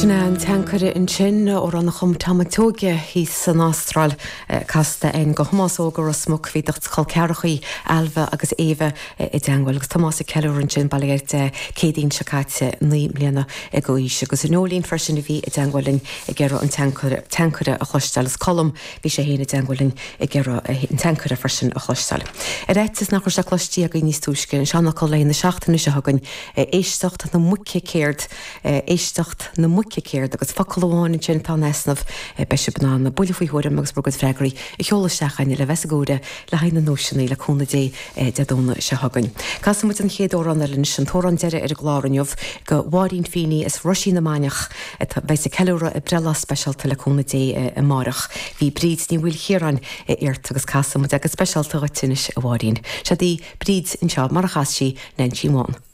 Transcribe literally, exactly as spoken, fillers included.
Sin é an Tancaire ansin amhrán a chum Tom Mac Tóige thíos san Astráil casta againn do Thomás Óg as Ros Muc bhí do chol ceathracha Ailbhe agus Éabha i dteagmháil agus Tomás ag ceiliúradh ansin bail ó Dhia air Céadaoin seo caite naoi mbliana d'aois agus Nóilín freisin a bhí i dteagmháil linn ag iarraidh an Tancaire a chloisteáil is Colm bhí sé féin i dteagmháil linn ag iarraidh an Tancaire freisin a chloisteáil. Ar fhaitíos nach raibh sé cloiste againn níos túisce an seanfhocal na seachtaine seo chugainn éisteacht na muice céard éisteacht na muice céard agus focal amháin ansin atá in easnamh beidh sibh in ann buille faoi thuairim agus bhur gcuid freagraí a sheoladh isteach chugainn le bheith sa gcomhaireamh le haghaidh na nduaiseanna le cúnamh Dé Dé Domhnaigh seo chugainn. Casfaidh muid an chéad amhrán eile anois an t-amhrán deiridh ar an gclár inniu do Mháirín Feeney as Ruisín na Mainiach beidh ag ceiliúradh a breithlá speisialta le cúnamh Dé amárach. Bhí Bríd Ní Mhaoilchiaráin iarrta agus casfaidh muid go speisialta dhuit anois a Mháirín. Seo í Bríd anseo mar a chas sí Neainsín Bhán.